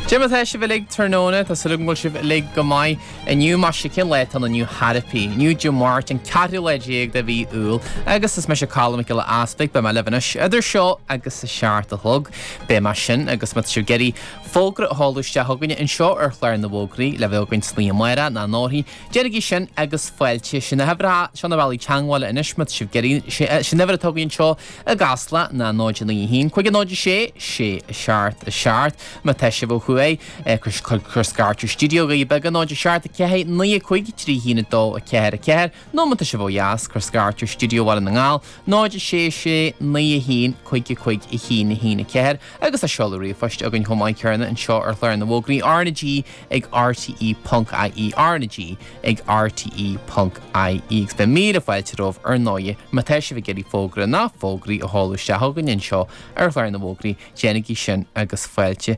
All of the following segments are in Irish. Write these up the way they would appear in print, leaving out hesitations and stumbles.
Cad é mar tá sibh uilig tráthnóna, tá súil agam go bhfuil sibh uilig go maith inniu. Maise, cén lá atá ann inniu chor ar bith? Inniu Dé Máirt, an ceathrú lá déag de mhí Iúil, agus is mise Colm Mac Giolla Easpaig, beidh mé libh anois idir seo agus a seacht a chlog. Beidh mé sin agus má tá sibh ag iarraidh fógra a sheoladh isteach chugainne anseo ar chlár na bhfógraí le bheith againn san oíche amárach nó anórthaí, Déanaigí sin agus fáilte. Sin na huimhreacha, seo na bealaí teagmhála anois má tá sibh ag iarraidh. Sin uimhir atá againn anseo i gCasla ná 0 9 1 5 0 6 6 7 7. Má tá sibh ó thuaidh, cuir scairt ar stiúideo Dhoirí Beaga 0 7 4 9 5 3 1 2 4 4 nó má tá sibh ó dheas, cuir scairt ar stiúideo Bhaile na nGall 0 6 6 9 1 5 5 1 1 4 agus tá seoladh ríomhphoist againn chomh maith céanna anseo ar chlár na bhfógraí RnaG ag rte ponc ie RnaG ag rte ponc ie Agus beidh míle fáilte romhaibh ar ndóighe má tá sibh ag iarraidh fógra ná fógraí a sheoladh isteach chugainn anseo ar chlár na bhfógraí, déanaigí sin agus fáilte.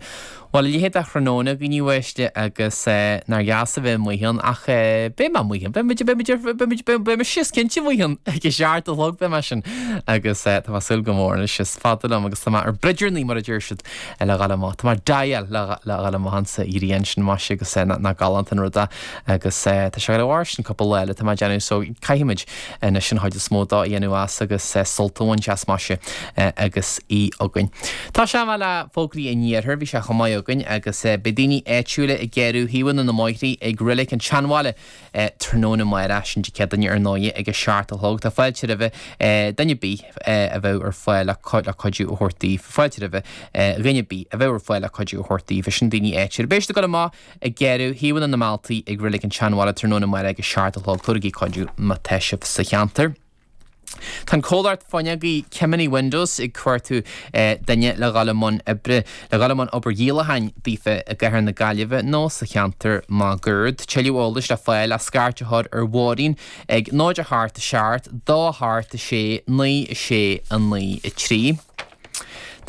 Bhuel, a leithéid de thráthnóna againn a uaisle agus nár dheas a bheith amuigh ann ach beidh mé amuigh ann, beidh muid, beidh muid, beidh muid, beidh mise is cinnte amuigh ann ag a seacht a chlog beidh mé sin agus tá mé ag súil go mór anois is fada liom agus tá mé ar bruidearnaí mar a deir siad le dhul amach. Tá mé ag dial le dhul amach insa ghrian sin maise agus nach galánta an rud é agus tá sé ag dul i bhfóirstean cúpla lá eile tá mé ag déanamh so caithfimid anois an chuid is mó dó a dhéanamh as agus sult a bhaint as maise agus í againn. Tá sé le fógraí an iarthair, bhí sé chomh maith againn agus beidh daoine áitiúla ag gearradh thaobhanna na mbóithrí ag Reilig an tSeanbhaile tráthnóna amárach, sin Dé Céadaoine ar ndóighe ag a seacht a chlog. Tá fáilte roimhe duine ar bith a bheadh ar fáil le cuidiú a thabhairt daoibh. Fáilte roimhe dhuine ar bith a bheadh ar fáil le cuidiú a thabhairt daoibh. Sin daoine áitiúla. Beidh siad ag dul amach ag gearradh thaobhanna na mbealtaí ag Reilig an tSeanbhaile tráthnóna amárach ag a seacht a chlog. Tabhairigí cuidiú má tá sibh sa cheantar. Tá an comhlacht fuinneogaí Kemany Windows ag cuartú duine le dhul i mbun oibre, le dhul i mbun obair dhíolacháin daofa i gcathair na Gaillimhe nó sa cheantar máguaird. Tuilleadh eolais le fáil ach scairt a chur ar Mháirín ag 0 8 7 2 8 6 9 6 9 3.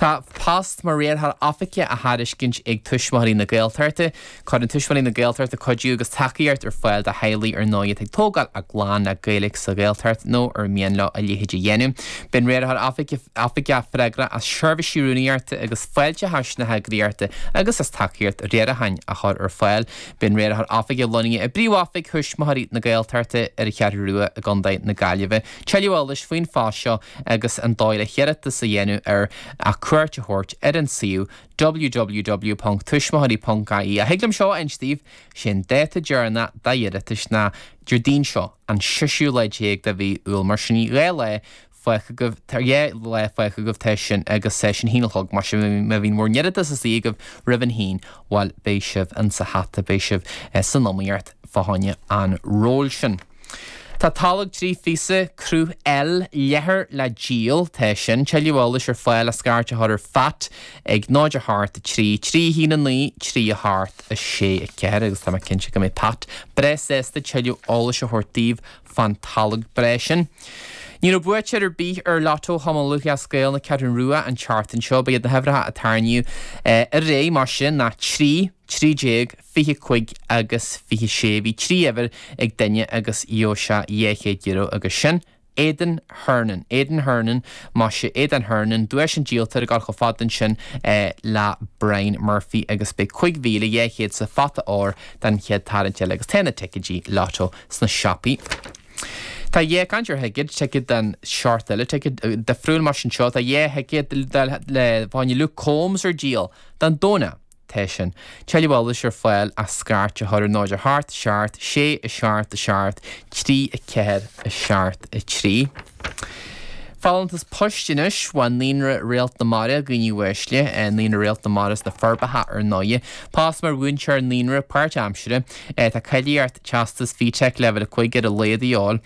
Tá post mar riarthóir oifige á thairiscint ag Tuismitheoirí na Gaeltachta. Cuireann Tuismitheoirí na Gaeltachta cuidiú agus tacaíocht ar fáil do theaghlaigh ar ndóigh atá ag tógáil a gclann le Gaeilge sa Ghaeltacht nó ar mian leo a leithéid a dhéanamh. Bíonn riarthóir oifige freagrach as seirbhísí rúnaíochta agus fáilteachais na heagraíochta agus as tacaíocht riaracháin a chur ar fáil. Bíonn riarthóir oifige lonnaithe i bpríomhoifig Thuismitheoirí na Gaeltachta ar an Cheathrú Rua i gContae na Gaillimhe. Tuilleadh eolais faoin phost seo agus an dóigh le hiarratas a dhéanamh air ach cuairt a thabhairt ar an suíomh www.tuismitheoirí.ie. Ach thig liom seo a inse daoibh, sé an dáta deireanach d'iarratais ná Déardaoin seo, an seisiú lá déag de mhí Iúil. Mar sin 2 lá fágtha agaibh, tá 2 lá fágtha agaibh tá sin agus sin a haon a chlog, mar sin má bhíonn bhur n-iarratas istigh agaibh roimh an haon, bhuel beidh sibh insa hata, beidh sibh san iomaíocht fá choinne an róil sin. Tá tolg 3 phíosa, cruth L, leathair le díol. Tá sin. Tuilleadh eolais ar fáil ach scairt a chur ar Phat ag 0 8 3 3 1 9 3 8 6 4 agus tá mé cinnte go mbeidh Pat breá sásta tuilleadh eolais a thabhairt daoibh fán tolg breá sin. Ní raibh buaiteoir ar bith ar Lotto Chumann Lúthchleas Gael na Ceathrún Rua an tseachtain seo. Ba iad na huimhreacha a tarraingíodh aréir mar sin ná 3, 13, 25 agus 26. Bhí 3 uimhir ag duine agus gheobhaidh sé €200 agus sin Aidan Hernon. Aidan Hernon, maise, Aidan Hernon, duais an díoltóra ag dul chomh fada ansin le Brian Murphy agus beidh 5,200 sa phota óir don chéad tarraingt eile agus tá na ticéidí Lotto sna siopaí. Tá dhá caint ar thicéad, ticéad den seort eile, ticéad difriúil mar sin seo, tá dhá thicéad le fá choinne Luke Combs ar díol don Domhnach. Tá sin. Tuilleadh eolais ar fáil ach scairt a chur ar 0 8 7 6 7 7 3 4 7 3. Folúntas poist anois ó Naíonra Réalt na Mara, a dhaoine uaisle, Naíonra Réalt na Mara sna Forbacha ar ndóighe. Post mar mhúinteoir naíonra páirtaimseartha. Tá cáilíocht Teastas FETAC Leibhéal 5 ar a laghad a dhíobháil.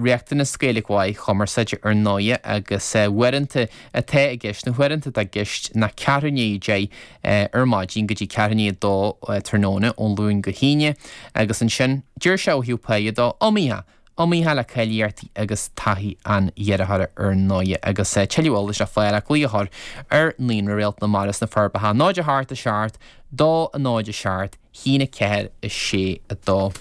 Riachtanas Gaeilge mhaith chumarsáide ar ndóighe agus uaireanta atá i gceist, na huaireanta atá i gceist ná ceathrú i ndiaidh a 10 ar maidin go dtí ceathrú i ndiaidh a 2 tráthnóna ón Luan go hAoine agus ansin deir sé ó thaobh páighe dó, iomaíoch, iomaíoch le cáilíochtaí agus taithí an iarrthóra ar ndóighe agus tuilleadh eolais le fáil ach glaoch a chur ar Naíonra Réalt na Mara sna Forbacha 0 8 7 2 0 7 1 4 6 2.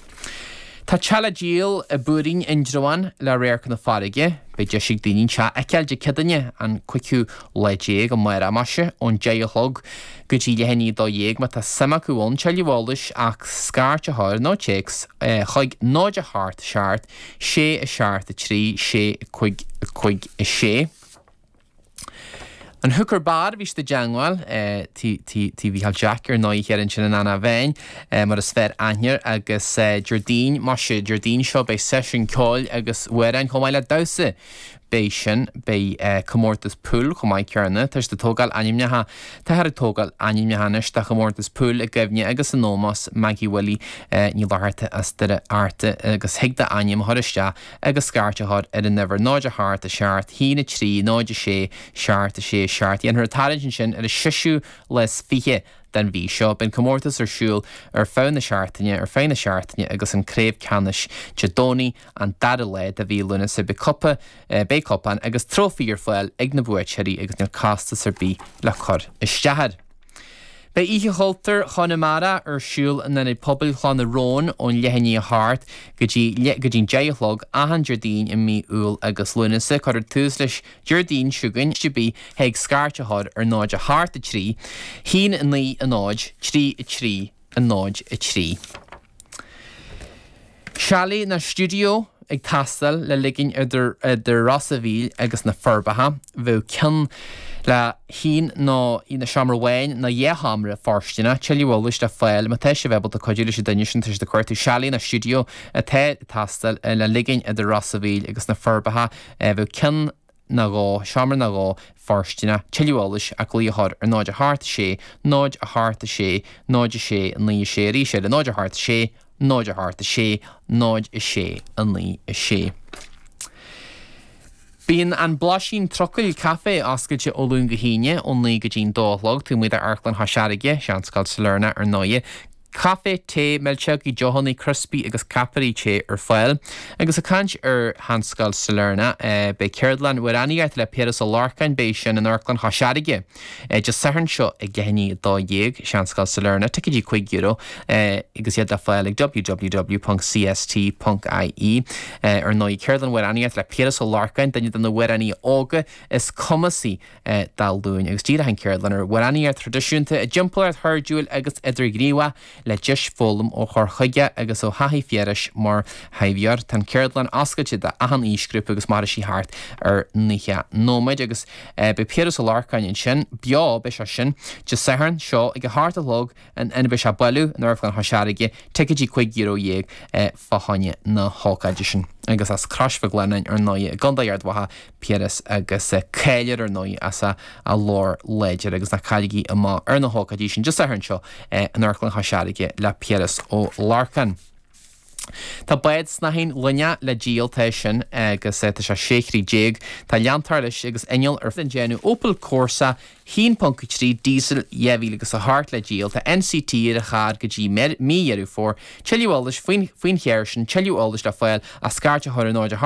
Tá teach le díol i bPúirín, Indreabhán, le radharc na farraige. Beidh deis ag daoine an teach a fheiceáil Dé Céadaoine, an cúigiú lá déag, amárach, maise, ón 10 a chlog go dtí leath i ndiaidh 12. Má tá suim acu ann, tuilleadh eolais ach scairt a chur nó téacs chuig 0 8 7 6 7 3 6 5 5 6. An Hooker Bar, bhí siad i dteangmháil, tí Mhícheál Jack ar ndóigh thiar ansin in Eanach Mheáin, mar is fearr aithne air, agus Déardaoin, maise, Déardaoin seo beidh seisiún ceoil agus amhráin chomh maith le damhsa. Beidh sin, beidh comórtas pool chomh maith céanna, tá siad ag tógáil ainmneacha, táthar ag tógáil ainmneacha anois do chomórtas pool i gcuimhne agus in ómós Maggie Willie Ní Fhlatharta as Doire Fhearta agus thig d'ainm a chur isteach agus scairt a chur ar an uimhir 0 8 7 1 3 0 6 7 6 7. Dhéanfar an tarraingt ansin ar an seisiú lá is 20 den mhí seo. Beidh an comórtas ar siúl ar feadh na seachtaine ar feadh na seachtaine agus an craobh ceannais Dé Domhnaigh an dara lá de mhí Lúnasa. Beidh cupa, beidh cupán agus trófaí ar fáil ag na buaiteoirí agus níl costas ar bith le cur isteach air. Beidh Oíche Chultúir Chonamara ar siúl in Ionad Pobail Chloch na Rón ón leath i ndiaidh a hocht go dtí go dtí'n deich a chlog achan Déardaoin i mí Iúil agus Lúnasa. Cuirfear tús leis Déardaoin seo chugainn ar bith thig scairt a chur ar 0 8 3 1 9 0 3 3 0 3. Chalet nó stiúideo ag teastáil le ligin idir Ros a' Mhíl agus na Forbacha. Bheadh ceann le haon nó seomra amháin nó dhá sheomra fóirsteanach. Tuilleadh eolais le fáil má tá sibh ábalta cuidiú leis an duine sin tá siad ag cuartú chalet nó stiúideo atá ag teastáil le ligin idir Ros a' Mhíl agus na Forbacha. Bheadh ceann nó dhó, seomra nó dhó fóirsteanach, tuilleadh eolais ach glaoch a chur ar 0 8 6 0 8 6 0 6 9 6 arís eile 0 8 6 0 8 6 0 6 9 6. Bíonn an Blaisín Trucail Caife oscailte ó Luan go hAoine ó 9 go dtí'n 2 a chlog taobh amuigh d'Amharclann Chois Fharraige, Seanscoil Sailearna ar ndóighe. Caife, tae, milseogaí, deochanna, criospaí agus ceapairí tae ar fáil. Agus ag caint ar Sheanscoil Sailearna, beidh ceardlann amhránaíochta le Piaras Ó Lorcáin, beidh sin in Amharclann Chois Fharraige Dé Sathairn seo ag leath i ndiaidh 12, Seanscoil Sailearna, ticéidí €5 agus iad le fáil ag www.cst.ie. Ar ndóigh, ceardlann amhránaíochta le Piaras Ó Lorcáin, duine de na hamhránaithe óga is cumasaí dá ghlúin agus díreoidh an cheardlann ar amhránaíocht thraidisiúnta i dtimpeallacht chairdiúil agus idirghníomhach le deis foghlaim ó chur chuige agus ó thaithí Phiarais mar thaibheoir. Tá an cheardlann oscailte d'achan aoisghrúpa agus mairfidh sí thart ar 90 nóiméad agus beidh Piaras Ó Lorcáin ansin beo, beidh sé sin Dé Sathairn seo ag a hocht a chlog in ina mbeidh sé ag bailiú in Amharclann Chois Fharraige, ticéidí €15 fá choinne na hócáide sin. Agus as Crois Mhic Lionnáin ar ndóigh i gContae Ard Mhacha, Piaras agus cáil air ar ndóigh as a ghlór láidir agus ná cailligí amach ar na hócáidí sin Dé Sathairn seo in Amharclann Chois Fharraige le Piaras Ó Lorcáin. Tá bád snáithín loinneach le díol, tá sin agus tá sé 16 throigh. Tá leantóir leis agus inneall ar den déanamh Opel Corsa 1.3 diesel 2008 le díol. Tá NCT ar an charr go dtí mí Dheireadh Fómhair. Tuilleadh eolais faoin faoin charr sin, tuilleadh eolais le fáil ach scairt a chur ar 0 8.